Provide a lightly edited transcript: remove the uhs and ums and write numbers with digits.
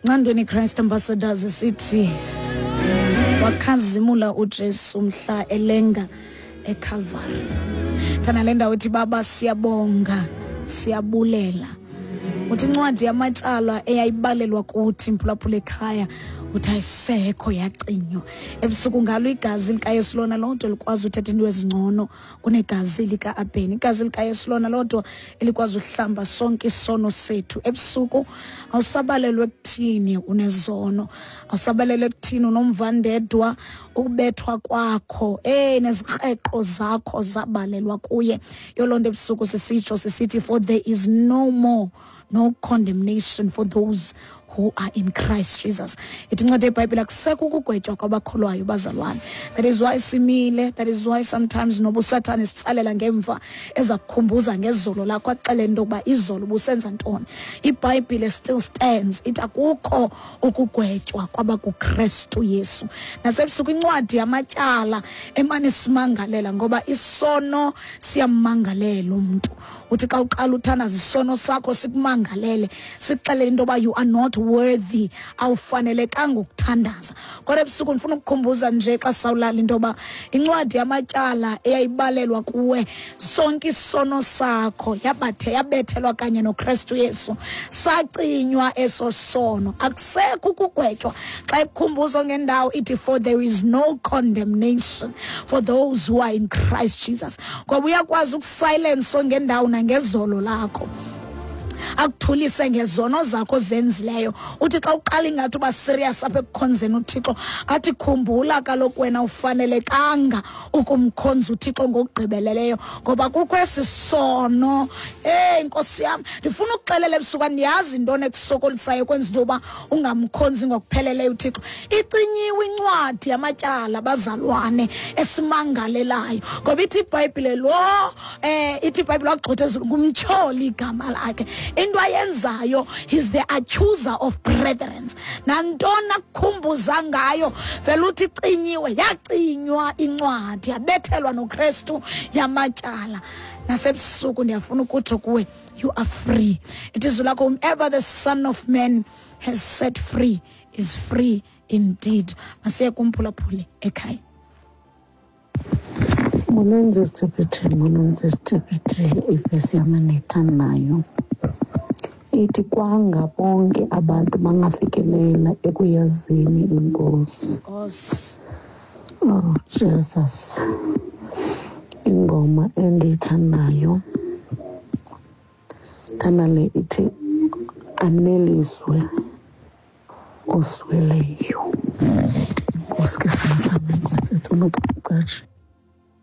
Ncandweni Christ Ambassadors sithi wakhazimula uJesu mhla elenga eCalvary. Thana le ndawo ithi baba siyabonga siyabulela. Uthi incwadi yamatyala eyayibalelwa kuthi mphulaphula ekhaya uthi ayisekho yacinywa. Ebusuku ngalo igazi likaYesu lona lodwa likwazi uthetha into ezingcono kunegazi lika-Abheni. Igazi likaYesu lona lodwa elikwazi uhlamba sonke isono sethu. Ebusuku awusabalelwe ekuthini unezono, awusabalelwe ekuthini unomvandedwa, ukubethwa kwakho nezikreqo zakho zabalelwa kuye. Yoloo nto ebusuku sisitsho sisithi for there is no more no condemnation for those who are in Christ Jesus. Ithi incwadi yeBhayibhile akusekho ukugwetywa kwabakholwayo bazalwane. That is why simile, that is why sometimes noba uSathane sitsalela ngemva eza kukhumbuza ngezolo lakho axelele into yokuba izolo ubusenza ntoni. IBhayibhile still stands. Ithi akukho ukugwetywa kwabakuKristu Yesu. Nasebusuku incwadi yamatyala emane simangalela ngoba isono siyammangalela umntu. Uthi xa uqala uthandaza isono sakho sikumangalele, sikuxelele into yoba you are not worthy, awufanelekanga ukuthandaza. Kodwa ebusuku ndifuna ukukhumbuza nje xa sawulala into yoba incwadi yamatyala eyayibalelwa kuwe sonke isono sakho yabathe yabethelwa kanye noKristu Yesu, sacinywa eso sono, akusekho ukugwetywa. Xa ikukhumbuzo ngendawo ithi for there is no condemnation for those who are in Christ Jesus, ngoba uyakwazi ukusilence ngendawo nangezolo lakho, akuthulise ngezono zakho zenzileyo. Uthi xa uqala ingathi uba serious apha ekukhonzeni uThixo, athi khumbula kaloku wena ufanelekanga ukumkhonza uThixo ngokugqibeleleyo ngoba kukho esi sono. Hey Nkosi yam, ndifuna ukuxelela ebusuku, andiyazi intoni ekusokolisayo kwenza into yoba ungamkhonzi ngokupheleleyo uThixo. Icinyiwe incwadi yamatyala bazalwane esimangalelayo, ngoba ithi iBhayibhile lo ithi iBhayibhile wagxotha ezulu ngumtyholi igama lakhe. Into ayenzayo, he's the accuser of brethren. Nantoni akukhumbuza ngayo vele uthi icinyiwe, yacinywa incwadi yabethelwa noKristu yamatyala. Nasebusuku ndiyafuna ukutsho kuwe, you are free. It is lakho, whomever the Son of Man has set free is free indeed. Masiye kumphulaphuli ekhaya. Molweni Sister, molweni Sister, ivesi yam endiyithandayo ithi kwanga bonke abantu bangafikelela ekuyazini iNkosi. Nkosi. Oh Jesus. Ingoma endiyithandayo thanda le ithi aneliswe osweleyo. Nkosi ke sibasa Nkosi unokucatsha.